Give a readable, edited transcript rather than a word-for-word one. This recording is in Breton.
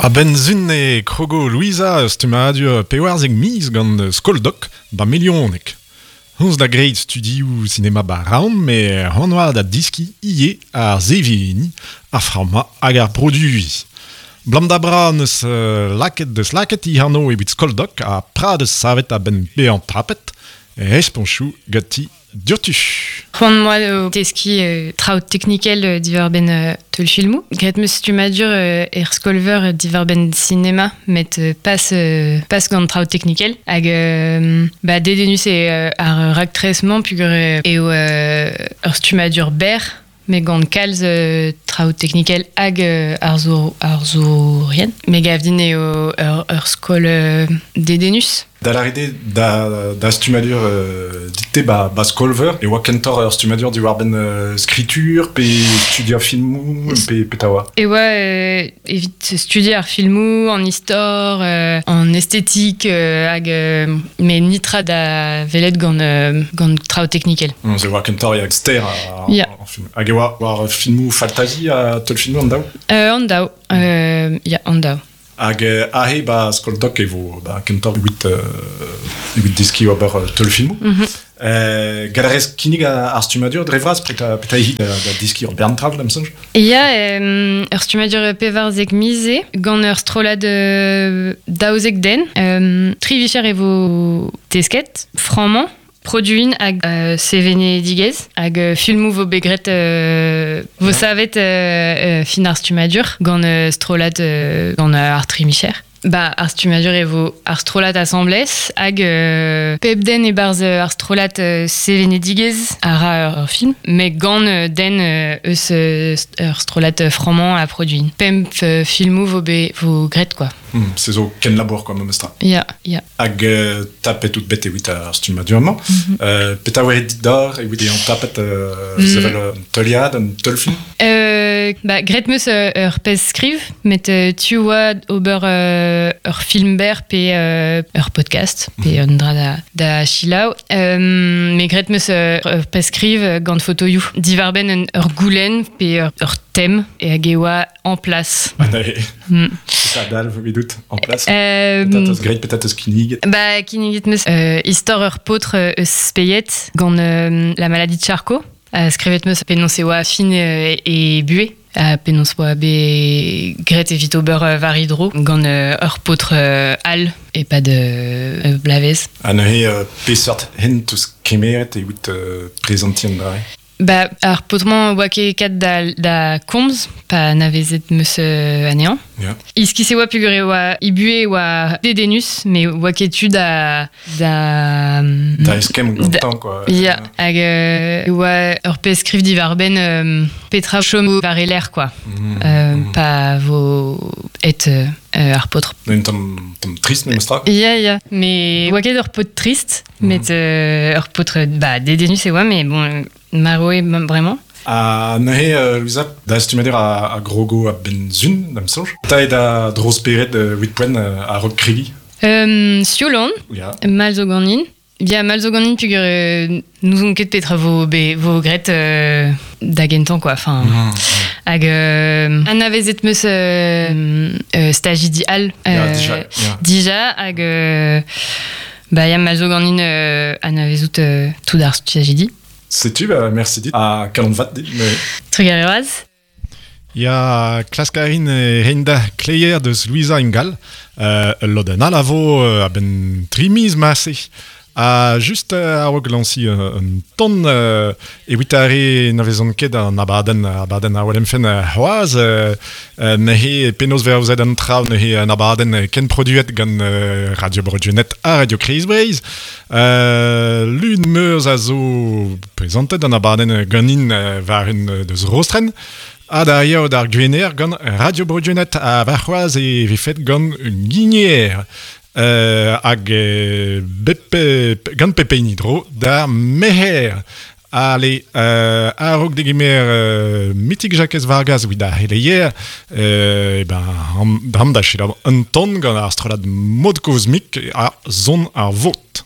A-benn sun e krogo Louisa ur stummadur 14 miz gant Skoldoc ba Melioneg. Honnezh da graet studioù sinema ba Raon met c'hoant oa da deskiñ ivez ar seveniñ, ar frammañ hag ar produiñ. Blam da bra 'neus lakaet deus lakaet he anv evit Skoldoc ha pra deus savet a-benn bezañ tapet responchoù ganti Diouzhtu. C'hoant 'moa o teskiñ traoù teknikel diwar-benn teulfilmoù. Graet 'm eus stummadur er skol-veur diwar-benn sinema, met pas, pas gant traoù teknikel. Hag bah, dedennus eo ar raktres-mañ peogwir eo ur stummadur berr met gant kalz traoù teknikel hag arzourien. Me gav din eo ur skol dedennus. Da lâret eo da, da stummadur euh, dit-te ba, ba skol-veur e oa kentoc'h ur stummadur diwar-benn euh, skritur pe studiañ filmoù pe petra oa? E oa euh, evit studiañ ar filmoù, an istor, an estetik hag met nitra da welet gant, gant traoù teknikel. Se oa kentoc'h ya ster ar, yeah. ar film. Hag e oa war filmoù faltazi ha teulfilmoù an daou? An daou, ya, an daou. Hag aze ba skol doc e vo ba kentoc'h evit evit deskiñ ober teulfilmoù. Mm -hmm. Gall a rez kinnig ar stummadur dre vras petra petra eo da, da deskiñ ur bern traoù da'm soñj? Ya, ur stummadur 14 miz eo, gant ur strollad 12 den. Tri vicher e vo tesket, frammañ, Produin hag sevenedigezh hag filmoù vo bet graet vo savet fin ar stummadur gant strollad gant ar tri micher. Ba, ar stummadur e vo ar strollad asambles hag pep den e-barzh ar strollad sevenedigezh a ra ur film, met gant den eus ur strollad frammañ ha produin. Pemp filmoù vo bet vo graet quoi. Se zo kenlabour quoi memestra. Ya, ya. Hag tapet out bet evit ar stummadur-mañ. Mm -hmm. Petra oa dit d'or evit eñ tapet sevel un teuliad, un teulfilm? Ba, graet 'meus ur pezh skriv, met tu oa ober ur film berr pe ur podcast, pe mm -hmm. un dra da, da selaou. Met graet 'meus ur pezh skriv gant fotoioù diwar-benn ur goulenn pe ur tem e hag e oa en place. Ah, mm. Petra dalv evidout en place? Petra teus graet, petra teus kinniget? Ba, kinniget 'meus istor ur paotr eus Speied gant la maladie de Charcot. Skrivet 'meus penaos e oa fin e buhez. Penaos oa bet graet evit ober war e dro gant ur paotr all e-pad ur bloavezh. Ha neuze, peseurt hent teus kemeret evit prezantiñ an dra-se? Ba, ar paotr-mañ oa ket kat da, da komz pa anavezet 'meus anezhañ. Yeah. Iskis e oa peogwir e oa e buhez e oa dedennus, met oa ket tu da... Da, da eskemm gantañ, quoi. Ya, hag e oa ur pezh skriv diwar-benn petra chom war e lerc'h, quoi. Pa vo et ar paotr. Un tamm, tamm trist memestra. Ya, ya, mais oa ket ur paotr trist. Met ur paotr bah, dedennus e oa, mais bon, marv eo bremañ. Ha neuze, Louisa, da stummadur a, a grogo a-benn sun, da'm soñj. Ta eo da dro-spered evit poent a-raok kregiñ? Sioul on, mall zo ganin. Ya, mall zo ganin peogwir n'ouzon ket petra vo, be, vo graet da gentañ, quoi. Enfin, hag anavezet 'meus stajidi all Ya, dija, ya. dija, hag Ba ya, ma zo ganin anavezout tout ar stajidi. Setu, ba, merci dit. Ha kalon vat dit. Mais... Trugarez. Ya, klask a rin reiñ da kleier deus Louisa Ingal. Ul lodenn all a vo a-benn tri miz marse. Ha just a-raok lañsiñ un ton evit ar re na vezont ket an abadenn abadenn a welemfen c'hoazh neuze penaos vez aozet an traoù neuze un abadenn kenproduet gant Radio Bro-Gwened ha Radio Kreiz Breizh. Lun Meurzh a zo prezantet an abadenn ganin war un deus Rostren ha da yaou d'ar Gwener gant Radio Bro-Gwened ha warc'hoazh e vefet gant Guigner. Hag bep, gant pep hini dro d'ar merc'her. Ale, a-raok degemer Mitik Jakez Vargas evit ar c'heleier, eh ben, dam da selaou un ton gant ar strollad Mod Kozmik ha Son ar Vot.